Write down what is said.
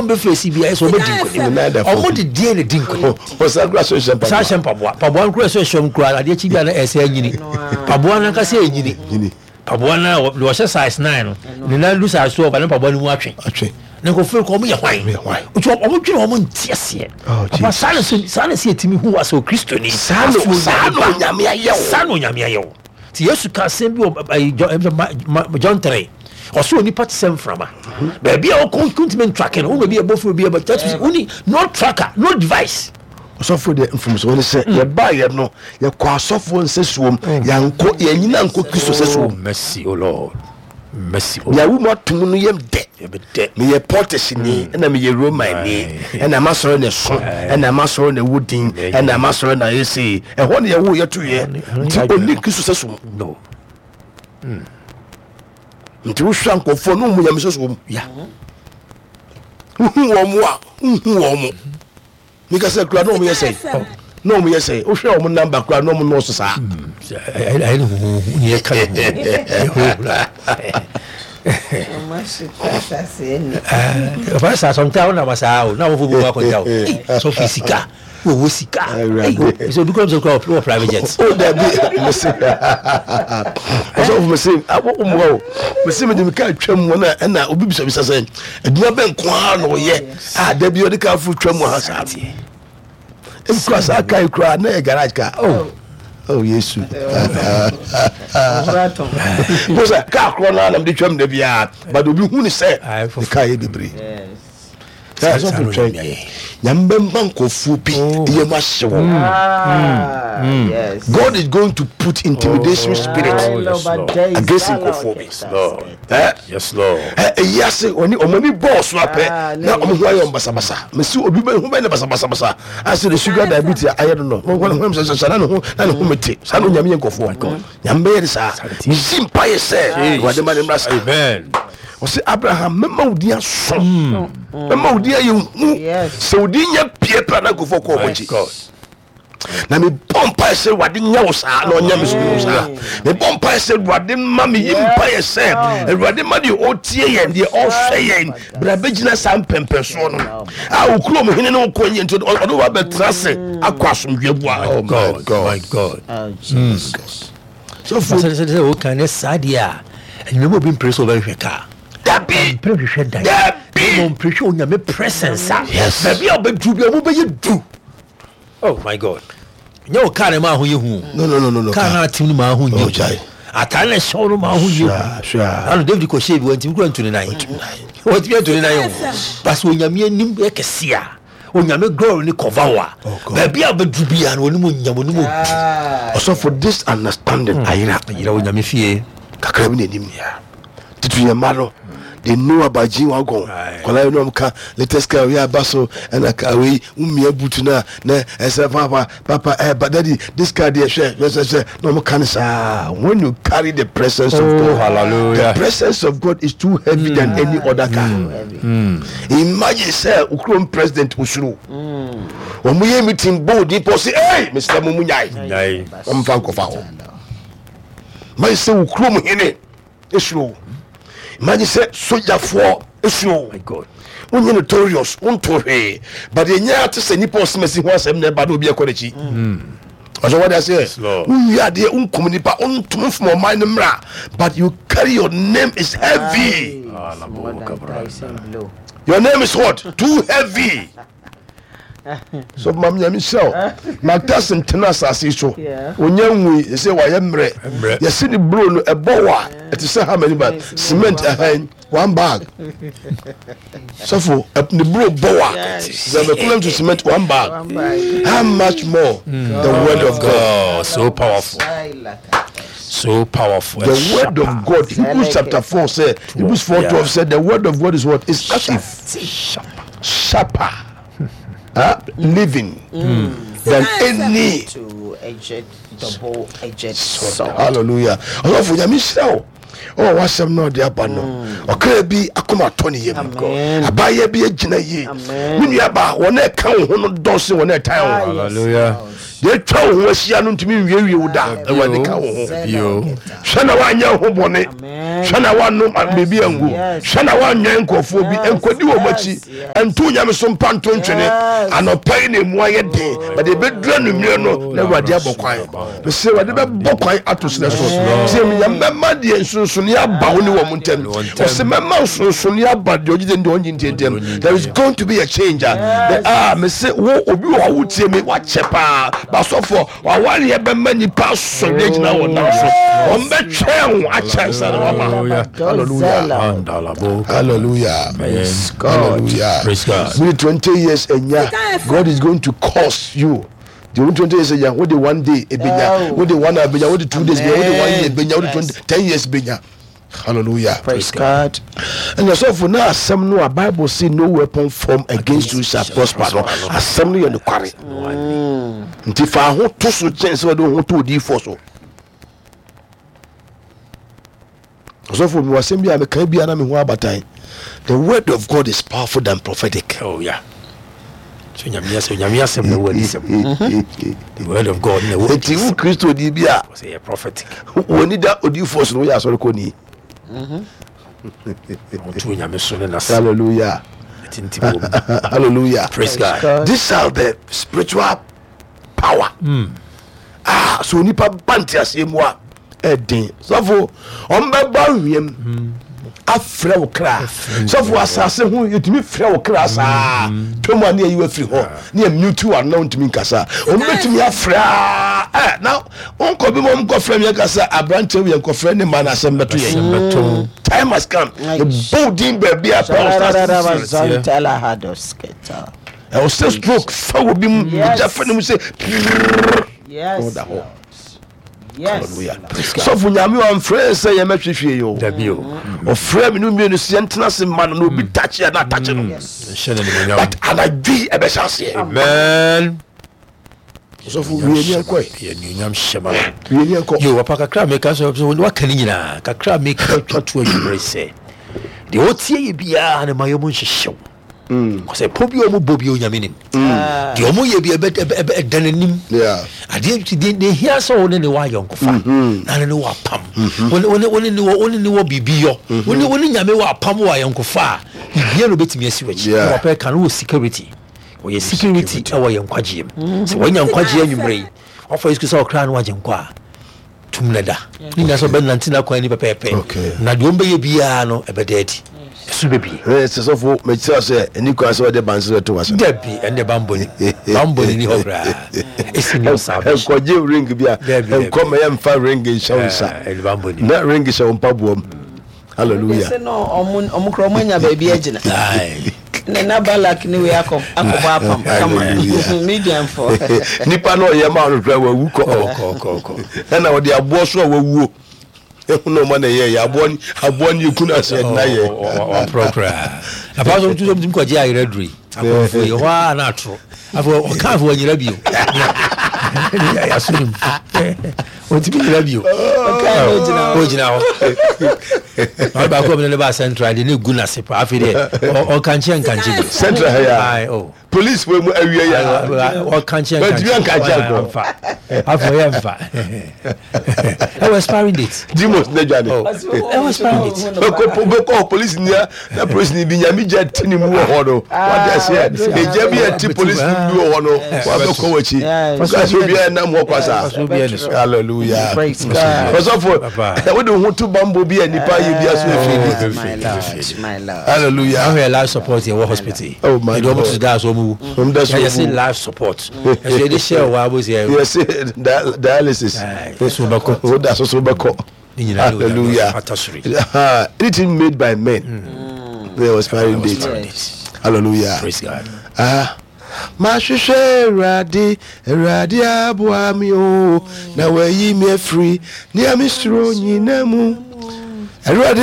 Ɔmo bɛ fesi bi ayɛ sɛ ɔmo di nkonim. Ɔmo de deɛ na di nkonim. Ɔsan kura so nhyɛ mpaboa. San hyɛ mpaboa. Mpaboa no kura so ɛhyɛ ɔmo kura adeɛ kyi bi a na ɛsɛ ɛnyini. Mpaboa no ankasa ɛnyini. Mpaboa no a deɛ ɔhyɛ size 9 no ne nan du size 12 a ne mpaboa no mu atwe. Atwe. Ne nkurɔfoɔ kɔ ɔmo yɛ hwan? Nti ɔmo dwene ɔmo nte aseɛ. Oh, Papa saa na saa na sɛ yɛtumi hu wa sɛ Okristoni. Saa na Onyame ayɛ wo. Saa na Onyame ayɛ wo. Nti Yesu ka asɛm bi wɔ John 3. Ɔsɛ onipa te sɛ mframa. Baabi a ɔkɔ ntumi ntrake no, wona obi ɛbɔ firi obi ɛbɔ. That is woni no tracker, no device. Ɔsɔfo deɛ mfomsoɔ ne sɛ yɛbaeɛ no yɛkɔ asɔfoɔ nsɛsoɔ mu, yɛankɔ yɛnyina ankɔ Kristo sɛsoɔ mu. Mercy, O Lord. Mercy, O Nea Lord. wo mu atom no yam dɛ. Yɛbɛdɛ. Meyɛ Portisni, ɛna meyɛ Romanni, ɛna m'asɔre na ɛso, ɛna m'asɔre na ɛwɔ din, ɛna m'asɔre na ayɛ sei. Ɛhɔ na yɛwoo yɛtoeɛ. Nti ɔnni Kristo sɛso mu. No. Nti wohwɛ nkurɔfoɔ no wohu Nyame sɛso mu. Wohu wɔn mo a, wonhu wɔn mo. Meka sɛ kura na wɔn yɛ sɛn? Na wɔn yɛ sɛn? Wohwɛ wɔn namba kura na wɔn nɔɔso saa. Ɛyɛ ne huhuhu ne yɛka ne huhuhu. Ɔfa saa sɔnta wo nam saa o na wɔfo bu akɔgya o. Sɔfo sika wɔwɔ sika. Sɛ obi kura sɛ kura wɔ private jet. O dabi mese ɔsɔfo mese awɔ mmoa o mese mede me kaa twam mu na ɛna obi bisabisa sɛ adwuma bɛn nko ara na ɔyɛ a da bi ɔde kaa foro twam wɔ ha saa nkura saa kaa yi koraa na yɛ garage kaa oh oh yesu mo sɛ kaa korɔ no anam de twam da biara but obi hu ne sɛ ne kaa yɛ bebree sɔfo twɛn nyame bɛma nkurɔfoɔ bi yɛ mu ahye wɔ God is going to put intimidation spirit against nkurɔfoɔ bi ɛyi ase ɔne ɔmo ani bɔɔ so apɛ na ɔmo ho ayɛ ɔmo basabasa mesi obi bɛ ho bɛ ne basabasabasa ase de sugar diabetes ayɛ no no wɔn ho sɛ sɛ na ne ho na ne ho mete saa na onyame yɛ nkurɔfoɔ nyame bɛyɛ de saa mesi mpa yɛ sɛ awurade ma ne mmra saa ɔsɛ Abraham mɛma wo din aso mɛma wo din ayɛ hu sɛ wo din nyɛ pie pɛ na nkurɔfoɔ kɔ ɔmo akyi na mebɔ mpaeɛ sɛ awurade nyɛ wo saa na ɔnyɛ me so wo saa mebɔ mpaeɛ sɛ awurade ma meyi mpaeɛ sɛ awurade ma deɛ ɔtie yɛn deɛ ɔhwɛ yɛn bra bɛgyina saa mpɛmpɛsoɔ no a wo kurom hene ne wo kɔ nyɛ nti ɔde wo abɛtena ase akɔ asomdwoeɛ boa. Oh my God, my God. Oh, Jesus. Sɔfo sɛ woka ne saa deɛ a ɛnyɛ obi mpere sɛ ɔbɛhwehwɛ kaa dabi mpere hwehwɛ dan dabi mmom mpere hwɛ onyame presence a Yes. baabi a wobɛduru bi a wobɛyɛ du. Oh my God. Nyɛ wo kaa na ɛma ho yɛ hu. No no no no no. Kaa na atem no ma ho nyɛ hu. Atare na ɛhyɛ wo no ma ho nyɛ hu. Sure. Ano David kɔ hyɛ bi wɔntumi kura ntu ne nan. Wɔntumi antu ne nan o. Basi onyame anim yɛ kɛse a onyame glory ne cover wo a. Oh, Baabi a wobɛduru biara no onim onyam onim odu. Ɔsɔfo this understanding ayera. Ayera onyame fie. Kakra bi na anim. Tutu yɛn mma no they know about G wagon kɔla yi nom ka latest car wei aba so ɛna car wei wumia boot na na ɛsɛ papa papa ɛ but daddy this car deɛ hwɛ hwɛ hwɛ hwɛ na wɔn ka no saa when you carry the presence of Oh, God hallelujah. the presence of God is too heavy than any other car imagine sɛ okurom president osuro wɔn yɛ meeting bold nipa ɔsi ɛy mesrɛ mo mu nyae Nyae. wɔn fa nkɔfa hɔ imagine sɛ okurom hene esuro wo imagine sɛ sogyafoɔ esuro wo wonyɛ notorious wonto hwee but ɛnyɛ ate sɛ nipa ɔsemasi ho asɛm na ɛba na obi ɛkɔ n'akyi ɔsɛ wɔde aseɛ wonwie adeɛ wonkum nipa wontom mfom ɔman no mmra but you carry your name is heavy your name is what too heavy So ma nyame nhyira wo. Mike Tyson tena asase yi so. Onya nwui, yɛsɛ wayɛ mmerɛ. Yɛse ne bro no ɛbɔ wɔ a ɛte sɛ how many bag? Cement ɛhɛn one bag. Sɔfo ne bro bɔ wɔ a the equivalent to cement one bag. How much more the word of God? Oh, so powerful. So powerful. The word of God. Hebrews chapter 4 said, Hebrews 4 12 said, the word of God is what? Is active. Sharper. Uh, living than any sword. Hallelujah. Ɔsɔfo nyame nhyira wo. Ɔwɔ w'asɛm na ɔde aba no. Ɔkra bi akoma atɔ ne yam. Abaayɛ bi agyina yie. Me nua ba wɔn a ɛka wo ho no dɔɔso wɔn a ɛtan wo. Hallelujah. Deɛ atwa wo ho ahyia no ntumi nwiewie wo da. Awurade ka wo ho. Hwɛ na woanyɛ wo ho bɔne. Hwɛ na woanom biribi angu. Hwɛ na woanwɛn nkurɔfoɔ bi nkɔdi wɔn akyi. Nto nyame so mpa nto ntwene. Anɔpa yi na emu ayɛ den, but ɛbɛduru anwummerɛ no na Awurade abɔ kwan. Mese Awurade bɛbɔ kwan ato serɛ so. Tie me, Nyame bɛma deɛ nsonsonoeɛ aba wo ne wɔn ntam. Ɔse mɛma nsonsonoeɛ aba deɛ ɔgye deɛ ɔngye ntie ntam. There is going to be a change. Ah, mese wo obi wɔ hɔ wotie me wakyɛ paa. Basɔfoɔ wawareɛ bɛma nipa asɔre agyina wɔn nan so. Wɔn bɛtwɛn wo akyɛ nsa na waba. Hallelujah. Hallelujah. Hallelujah. Mene 20 years anya. God is going to cause you. Deɛ wode 20 years anya, wode one day ebenya, wode one hour ebenya, wode 2 days ebenya, wode one year ebenya, wode 20 10 years ebenya. Hallelujah. Praise God. Ɛna sɔfo na asɛm no a Bible say no weapon formed against you shall prosper no asɛm no yɛ nokware. Nti fa ho to so kyɛn sɛ wɔde ho to odiyifoɔ so. Ɔsɔfo mi wɔ asɛm bi a meka bi a na me ho abatan. The word of God is powerful than prophetic. Oh yeah. So nyame asɛm nyame asɛm na ɛwɔ adisɛm. The word of God na ɛwɔ Eti wo Kristo ni bi a sɛ yɛ prophetic. Wɔni da odiyifoɔ so no woyɛ asɔre kɔ ni. Ɔto nyame so ne n'asɛm. Hallelujah. Ɛtintim wɔ mu. Hallelujah. Praise God. These are the spiritual power. Ah, so nipa ba nteaseɛ mu a ɛden. Sɔfo, ɔmbɛbɔ awiam afrɛ wo kra. Sɔfo, asase ho yɛtumi frɛ wo kra saa. Twam a ne yɛyi wo afiri hɔ ne yɛ mute wo ano na wontumi nkasa. Ɔmbɛtumi afrɛ a ɛ na wonkɔ bi ma ɔmkɔfrɛ me yɛka sɛ aberanteɛ wo yɛnkɔfrɛ ne ma no asɛm bɛto yɛn. Time has come. Yɛbɔ wo din baabi a pɛ wo start. Ɛwɔ sɛ stroke fa wɔ bi mu gya fa ne mu sɛ ɔda hɔ. Hallelujah. Sɔfo Nyame ɔmfrɛ sɛ yɛmɛhwehwɛ yi o. Ɔfrɛ me no mmienu sɛ yɛntena ase ma no na obi takye a na atakye no. But anadwo yi ɛbɛhyɛ aseɛ. Amen. Sɔfo wie ni ɛnkɔ yi. Anuonyam hyɛ ma no. Wie ni ɛnkɔ. Yo papa kakra meka sɛ waka ne nyinaa kakra meka twa to adwumere sɛ deɛ ɔtie yɛ biara ne ma yɛ mu nhyehyew. Kɔsɛ pɔ bi a ɔmo bɔ bi Onyame nim. Deɛ ɔmo yɛ bi ɛda n'anim. Adeɛ nti deɛ deɛ hia sɛ ɔne ne wɔ ayɔnkofa na ne ne wɔ apam. Ɔne ne wɔ ɔne ne wɔ biribi yɔ. Ɔne ɔne Nyame wɔ apam wɔ ayɔnkofa a biribiara na obetumi asi w'akyi. Na papa ɛka no wɔ security. Ɔyɛ security ɛwɔ yɛn nkwagyeɛ mu. Sɛ wanya nkwagyeɛ anwummerɛ yi, wafa Yesu Kristo sɛ ɔkra no agye nkwa a, tum no da. Ne nyinaa sɛ ɔbɛnante n'akwan ani pɛpɛɛpɛ. Na deɛ ɔmbɛyɛ biara no ɛbɛda adi. Ɛso bɛbie. Sɛ sɔfo mekyerɛ sɛ ɛni kwan sɛ wɔde banse bɛto w'asɛm. Dabi, ɛnde bambɔ ni. Bambɔ ni ni hɔ koraa. Ɛsi ni salvation. Nkɔgye ring bi a nkɔ ma yɛmfa ring nhyɛ wo nsa. Ɛde bambɔ ni. Na ring hyɛ wo mpaboa mu. Hallelujah. Sɛ no ɔmo ɔmo kora ɔmo anya baabi agyina. Ne na Balak ne wei akɔ akɔbɔ apam kama. Midian fo. Nipa na ɔyɛ maa no kora wawu kɔ. Ɛna ɔde aboɔ so a wawuo. Ehu na ɔma na ɛyɛ yɛ aboɔ ni aboɔ ni ekun ase ɛdina yɛ. Waporɔ koraa. Apa so tu so kɔgye ayerɛ duro yi. Akɔnfo yi hɔ a na atoro. Afɔ ɔka afɔ wanyera bio. Yaso ne mu. Ɔntumi nyera bio. Ɔgyina hɔ. Ɔno baako a ɔmo ne ba central de ne gu n'ase pa afei deɛ ɔkankye nkankye bi. Central ha ya. Oh. Police fo mu awie ya. Ɔkankye nkankye. Ɔntumi nkankye akɔ. Nfa. Afei ɔyɛ nfa. Ɛwɔ expiring date. Demons ne dwane. Ɛwɔ expiring date. Bɛkɔ bɛkɔ police ni na police ni bi nyame gya ti ne mu wɔ hɔ no. Wate aseɛ. Egya bi a ti police ni bi wɔ hɔ no. Wabɛkɔ w'akyi. Kasi obi a nam hɔ kwa saa. Hallelujah. Ɔsɔfo wode ho to bambɔ bi a nipa yɛ bi aso efiri di. Hallelujah. Ahwɛ life support yɛ wɔ hospital. Oh my God. Ɛdi wɔn to da so wɔn wu. Wɔn da so wɔn wu. Yɛsi life support. Ɛsɛ yɛde hyɛ wɔ abo sɛ. Yɛsi dialysis. So bɛkɔ. O da so so bɛkɔ. Hallelujah. Anything made by men. There was expiring date. Hallelujah. Praise God. Ah. Mahwehwɛ Awurade, Awurade aboa me o, na wayi me afiri nea mesuro nyina mu. Awurade.